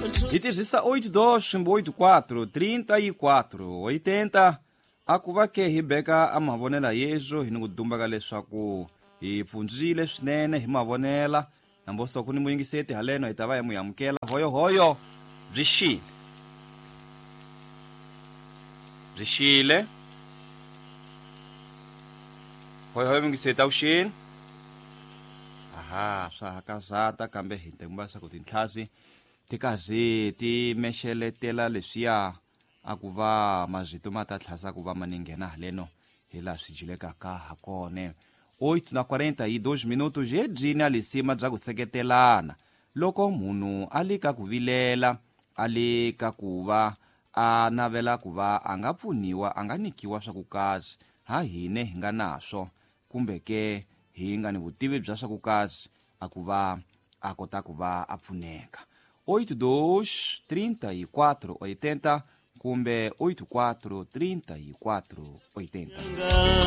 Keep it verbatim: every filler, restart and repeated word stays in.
Hi tirhisa oito dois oito quatro trinta e quatro oitenta a ku va ke hi beka a mavonela yezwo hi ni ku dumbaka leswaku hi pfundzile swinene hi mavonela namboso ku ni muyingiseti haleno hi ta va hi mu amukela hoyohoyo byi xile byi xile hoyohoyo muyingiseti avuxeni. Aha, swa hakazata kambe hi tengumba leswaku tintlhasi ti kazi ti mexeletela leswiya a ku va mazito ma ta tlhasa ku va ma ni nghena haleno hi laha swi jilekaka ha kona. Oito na quarenta e dois minutos hi byini a lisima bya ku seketelana loko munhu a le ka ku vilela a le ka ku va a navela ku va a nga pfuniwa a nga nyikiwa swa ku kazi ha hine hi nga naswo kumbe ke hi nga ni vutivi bya swa ku kazi a ku va a kota ku va a pfuneka. Oito dois trinta e quatro oitenta kumbe oito quatro trinta e quatro oitenta.